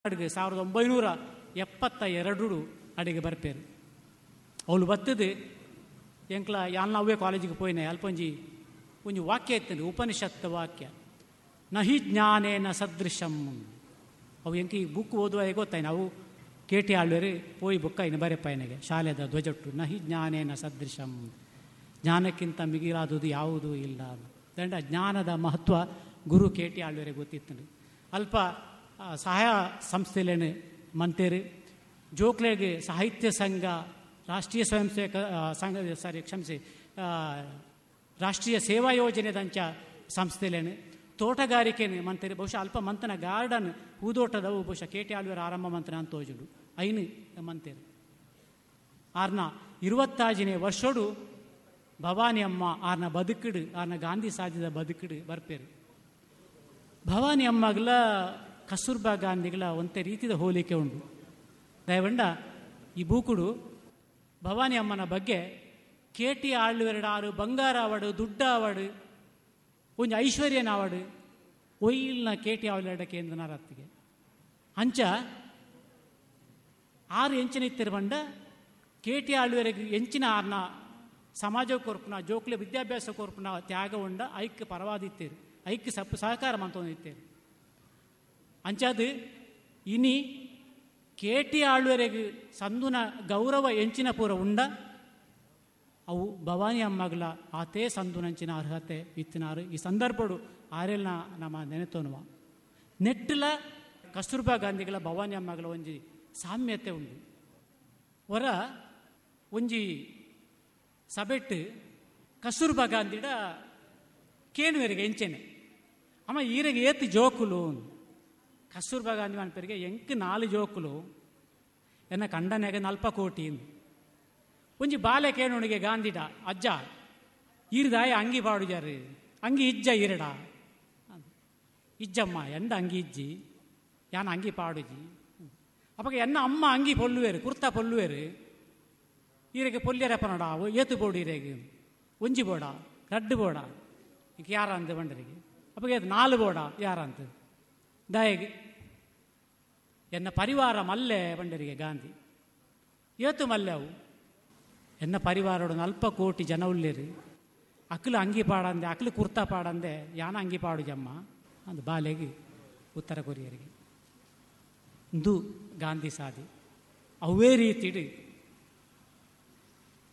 ಅಡುಗೆ 1972 ಅಡಿಗೆ ಬರ್ಪೇರು. ಅವಳು ಬತ್ತದು ಎಂಕ್ಲ ಯಾನ್ ಅವೇ ಕಾಲೇಜಿಗೆ ಪೋಯಿನ. ಅಲ್ಪ ಒಂಜಿ ಒಂಜಿ ವಾಕ್ಯ ಇತ್ತು, ಉಪನಿಷತ್ ವಾಕ್ಯ, ನಹಿ ಜ್ಞಾನೇನ ಸದೃಶಂ. ಅವು ಎಂಕ ಈ ಬುಕ್ ಓದುವಾಗ ಗೊತ್ತಾಯ್ನ, ಅವು ಕೆ ಟಿ ಆಳ್ವೇರು ಪೋಯಿ ಬುಕ್ಕ ಇನ್ನು ಬರೆಪ್ಪಾಯನಿಗೆ ಶಾಲೆದ ಧ್ವಜಟ್ಟು, ನಹಿ ಜ್ಞಾನೇನ ಸದೃಶಂ, ಜ್ಞಾನಕ್ಕಿಂತ ಮಿಗಿಲಾದುದು ಯಾವುದೂ ಇಲ್ಲ. ದಂಡ ಜ್ಞಾನದ ಮಹತ್ವ ಗುರು ಕೆ ಟಿ ಆಳ್ವೇರಿಗೆ ಗೊತ್ತಿತ್ತು. ಅಲ್ಪ ಸಹಾಯ ಸಂಸ್ಥೆಲೇನು ಮಂತೇರು, ಜೋಕ್ಲೆಗೆ ಸಾಹಿತ್ಯ ಸಂಘ, ರಾಷ್ಟ್ರೀಯ ಸ್ವಯಂ ಸೇವಕ ಸಂಘ, ಸಾರಿ ಕ್ಷಮಿಸಿ, ರಾಷ್ಟ್ರೀಯ ಸೇವಾ ಯೋಜನೆದಂಚ ಸಂಸ್ಥೆಲೇನು, ತೋಟಗಾರಿಕೆನು ಮಂತೇರು. ಬಹುಶಃ ಅಲ್ಪ ಮಂತನ ಗಾರ್ಡನ್ ಹೂದೋಟದವು ಬಹುಶಃ ಕೆ ಟಿ ಆಳ್ವೇರು ಆರಂಭ ಮಂತನ ಅಂತ ತೋಜುಡು ಐನು ಮಂತೇರು. ಆರ್ನ 25ನೇ ವರ್ಷೋಡು ಭವಾನಿ ಅಮ್ಮ ಆರ್ನ ಬದುಕಿಡು, ಆರ್ನ ಗಾಂಧಿ ಸಾಧಿದ ಬದುಕಿಡು ಬರ್ಪೇರು. ಭವಾನಿ ಅಮ್ಮಗಳ ಕಸ್ತೂರ್ಬಾ ಗಾಂಧಿಗಳ ಒಂತೆ ರೀತಿಯ ಹೋಲಿಕೆ ಉಂಟು. ದಯವಂಡ ಈ ಬೂಕುಡು ಭವಾನಿ ಅಮ್ಮನ ಬಗ್ಗೆ ಕೆ ಟಿ ಆಳ್ವೆರಡು ಆರು ಬಂಗಾರ ಅವಾಡು, ದುಡ್ಡ ಅವಾಡು, ಒಂಜಿ ಐಶ್ವರ್ಯನ ಅವಾಡು ಒಯ್ಯಿಲ್ನ ಕೆ ಟಿ ಆಳ್ವೆರಡ ಕೇಂದ್ರ ಅಂಚ ಆರು ಎಂಚಿನ ಇತ್ತಿರ ಬಂಡ ಕೆ ಟಿ ಆಳ್ವೆರೆಗ್ ಎಂಚಿನ ಆರ್ನ ಸಮಾಜ ಕೊರ್ಪುನ, ಜೋಕ್ಲೆ ವಿದ್ಯಾಭ್ಯಾಸ ಕೊರ್ಪುನ ತ್ಯಾಗ ಉಂಡ ಐಕ್ ಪರವಾದಿತ್ತೇರು, ಐಕ್ ಸಪ್ಪು ಸಹಕಾರ ಮಂತೊಂದಿತ್ತೇರು. ಅಂಚಾದು ಇನಿ ಕೆ ಟಿ ಆಳ್ವೆರೆಗ್ ಸಂದುನ ಗೌರವ ಎಂಚಿನ ಪೂರ ಉಂಡ ಅವು ಭವಾನಿ ಅಮ್ಮಗಳ ಆತೇ ಸಂದುನಂಚಿನ ಅರ್ಹತೆ ಇತ್ತಿನಾರು. ಈ ಸಂದರ್ಭಡು ಆರೆಲ್ನ ನಮ್ಮ ನೆನೆತೋನುವ ನೆಟ್ಟಲ ಕಸ್ತೂರ್ಬಾ ಗಾಂಧಿಗಳ ಭವಾನಿ ಅಮ್ಮಗಳ ಒಂಜಿ ಸಾಮ್ಯತೆ ಉಂಡು. ಹೊರ ಒಂಜಿ ಸಬೆಟ್ಟು ಕಸ್ತೂರ್ಬಾ ಗಾಂಧಿಡ ಕೇನುವೆರಿಗೆ ಎಂಚೆನೆ ಅಮ್ಮ ಈರೆಗೆ ಏತು ಜೋಕುಲು. ಕಸ್ತೂರ್ಬಾ ಗಾಂಧಿ ಮನ್ಪರಿಗೆ ಎಂಕ್ 4 ಜೋಕುಲು, ಎನ್ನ ಕಂಡನೆಗೆ 40 ಕೋಟಿ. ಒಂಜಿ ಬಾಲೆ ಕೇಣುಣಿಗೆ ಗಾಂಧಿಡ ಅಜ್ಜ ಈರ್ದಾಯ ಅಂಗಿ ಪಾಡುಜಾರು, ಅಂಗಿ ಇಜ್ಜ ಈರಡ ಇಜ್ಜಮ್ಮ ಎಂಡ ಅಂಗಿ ಇಜ್ಜಿ ಯಾನ ಅಂಗಿ ಪಾಡುಜಿ. ಅವಾಗ ಎನ್ನ ಅಮ್ಮ ಅಂಗಿ ಪೊಲ್ಲುವೇರು, ಕುರ್ತಾ ಪೊಲ್ಲುವೇರು, ಈರೆಗೆ ಪೊಲ್ಯರಪ್ಪನಡ ಏತು ಬೋಡು ಈರೆಗೆ ಒಂಜಿ ಬೋಡ ರಡ್ಡು ಬೋಡ ಈಗ ಯಾರ ಅಂತ ಬಂಡರಿಗೆ ಅಪ್ಪ ಏತು 4 ಬೋಡ ಯಾರ ಅಂತ ದಾಯಗೆ ಎನ್ನ ಪರಿವಾರ ಮಲ್ಲೆ ಬಂಡರಿಗೆ ಗಾಂಧಿ ಏತು ಮಲ್ಲೆ ಅವು ಎನ್ನ ಪರಿವಾರೋಡು 40 ಕೋಟಿ ಜನ ಉಳ್ಳೇರು, ಅಕ್ಲು ಅಂಗಿ ಪಾಡಂದೆ ಅಕ್ಲು ಕುರ್ತಾ ಪಾಡಂದೆ ಯಾನ ಅಂಗಿ ಪಾಡುಜಮ್ಮ ಅಂದು ಬಾಲೆಗೆ ಉತ್ತರ ಕೊರಿಯರಿಗೆ ಇಂದು ಗಾಂಧಿ ಸಾಧಿ. ಅವೇ ರೀತಿಡು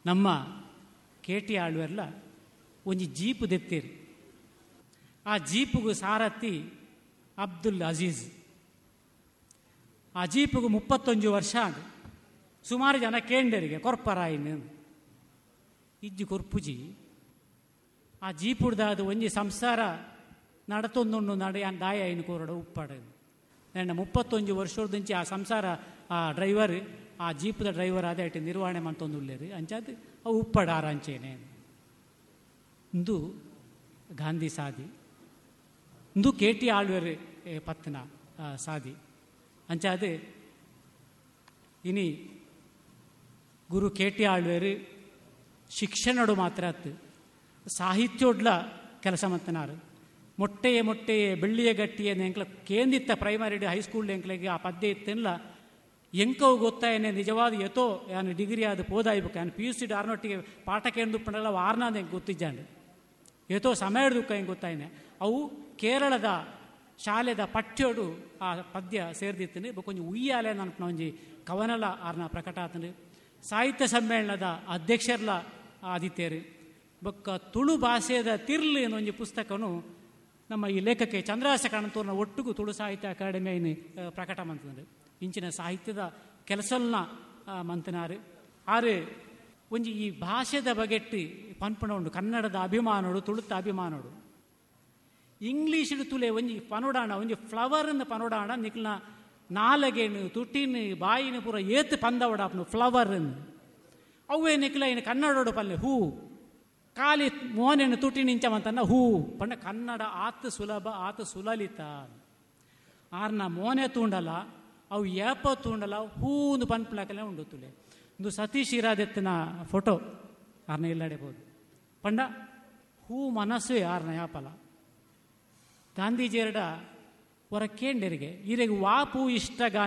ನಮ್ಮ ಕೆ ಟಿ ಆಳ್ವೆರ್ಲ ಒಂಜಿ ಜೀಪು ದೆತ್ತೀರಿ. ಆ ಜೀಪುಗು ಸಾರಥಿ ಅಬ್ದುಲ್ ಅಜೀಜ್. ಆ ಜೀಪುಗು 31 ವರ್ಷ ಆಂಡ್. ಸುಮಾರು ಜನ ಕೇಂಡರಿಗೆ ಕೊರ್ಪರಾಯಿನ ಇಜ್ಜಿ ಕೊರ್ಪುಜಿ. ಆ ಜೀಪುಡ್ದಾದ ಒಂಜಿ ಸಂಸಾರ ನಡತೊಂದುಂಡು ನಡ ದಾಯ ಐನು ಕೋರಡ ಉಪ್ಪಾಡ. ನನ್ನ 31 ವರ್ಷದಂಚಿ ಆ ಸಂಸಾರ ಆ ಡ್ರೈವರ್ ಆ ಜೀಪದ ಡ್ರೈವರ್ ಆದ ಇಟ್ಟು ನಿರ್ವಹಣೆ ಮಂತೊಂದುಳ್ಳೇರು ಅಂಚಾದ ಅವು ಉಪ್ಪಾಡ ಆರಂಚೇನೆ. ಇಂದು ಗಾಂಧಿ ಸಾಧಿ, ಇಂದು ಕೆ ಟಿ ಆಳ್ವೇರು ಪತ್ನ ಸಾಧಿ. ಅಂಚಾದ ಇನಿ ಗುರು ಕೆ ಟಿ ಆಳ್ವೇರು ಶಿಕ್ಷಣಡು ಮಾತ್ರ ಅತ್ತು ಸಾಹಿತ್ಯೋಡ್ಲ ಕೆಲಸ ಮಂತನಾರು. ಮೊಟ್ಟೆಯೇ ಮೊಟ್ಟೆಯೇ ಬೆಳ್ಳಿಯ ಗಟ್ಟಿಯೇ ಎಂಕ್ಲ ಕೇಂದಿತ್ತ ಪ್ರೈಮರಿ ಹೈಸ್ಕೂಲ್ ಎಂಕ್ಲೆಗೆ ಆ ಪದ್ಯ ಇತ್ತೆಲ್ಲ ಎಂಕವು ಗೊತ್ತಾಯನೆ ನಿಜವಾದ ಯಥೋ ಯಾನು ಡಿಗ್ರಿ ಆದ ಪೋದಾಯ್ಬೇಕು ಯಾನು ಪಿ ಯು ಸಿ ಆರ್ನೊಟ್ಟಿಗೆ ಪಾಠ ಕೇಂದುಪ್ಪಂಡಲ್ಲ ಆರ್ನಾದ ಹೆಂಗೆ ಗೊತ್ತಿದ್ದಾಂಡು ಯಥೋ ಸಮಯ ದುಃಖ ಹೆಂಗೆ ಗೊತ್ತಾಯನೆ. ಅವು ಕೇರಳದ ಶಾಲೆದ ಪಠ್ಯೋಡು ಆ ಪದ್ಯ ಸೇರ್ದಿತ್ತನೆ ಕೊಂಚ ಉಯ್ಯಾಲೆ ಅನ್ಪುನ ಒಂಜಿ ಕವನಲ ಆರ್ನ ಪ್ರಕಟ ಆತನು. ಸಾಹಿತ್ಯ ಸಮ್ಮೇಳನದ ಅಧ್ಯಕ್ಷರ್ಲ ಆದಿತ್ಯರು ಬೊಕ್ಕ ತುಳು ಭಾಷೆದ ತಿರ್ಲು ಒಂಜಿ ಪುಸ್ತಕನು ನಮ್ಮ ಈ ಲೇಖಕ್ಕೆ ಚಂದ್ರಹಾಸ ಕಾಣಂತೂರ್ನ ಒಟ್ಟಿಗೂ ತುಳು ಸಾಹಿತ್ಯ ಅಕಾಡೆಮಿಯನ್ನು ಪ್ರಕಟ ಮಂತಂದ್ರೆ ಇಂಚಿನ ಸಾಹಿತ್ಯದ ಕೆಲಸಲ್ನ ಮಂತನಾರು. ಆರು ಒಂಜಿ ಈ ಭಾಷೆದ ಬಗೆಟ್ಟಿ ಪನ್ಪುಣ ಉಂಡು ಕನ್ನಡದ ಅಭಿಮಾನೋಡು ತುಳುತ್ತ ಅಭಿಮಾನೋಡು. ಇಂಗ್ಲೀಷ್ ತುಲೆ ಒಂಜಿ ಪನೋಡಾಣ ಒಂಜಿ ಫ್ಲವರ್ನ ಪನೋಡಾಣ ನಿಕ್ಲ ನಾಲಗೇನು ತುಟಿನ ಬಾಯಿನ ಪೂರ ಏತು ಪಂದವಡಾಪನು ಫ್ಲವರ್ ಅವೇ ನಿಕ್ಲ ಇನ್ನು ಕನ್ನಡೋಡು ಪಲ್ಲೆ ಹೂ ಖಾಲಿ ಮೋನೇನು ತುಟಿ ನಿಂಚಮಂತನ್ನ ಹೂ ಪಂಡ ಕನ್ನಡ ಆತ ಸುಲಭ ಆತ ಸುಲಲಿತ. ಆರ್ನ ಮೋನೆ ತೂಂಡಲ ಅವು ಏಪ ತೂಂಡಲ ಹೂಂದು ಪನ್ಪುಲಕಲೆ ಉಂಡು ತುಲೆ. ಇಂದು ಸತೀಶ್ ಇರಾದೆತ್ತಿನ ಫೋಟೋ ಆರ್ನ ಇಲ್ಲಡೆಬೋದು ಪಂಡ ಹೂ ಮನಸ್ಸು ಆರ್ನ ಯಾಪಲ. ಗಾಂಧೀಜಿಯರಡ ಹೊರ ಕೇಂಡೆರಿಗೆ, ಈರೆಗ್ ವಾಪು ಇಷ್ಟಗ?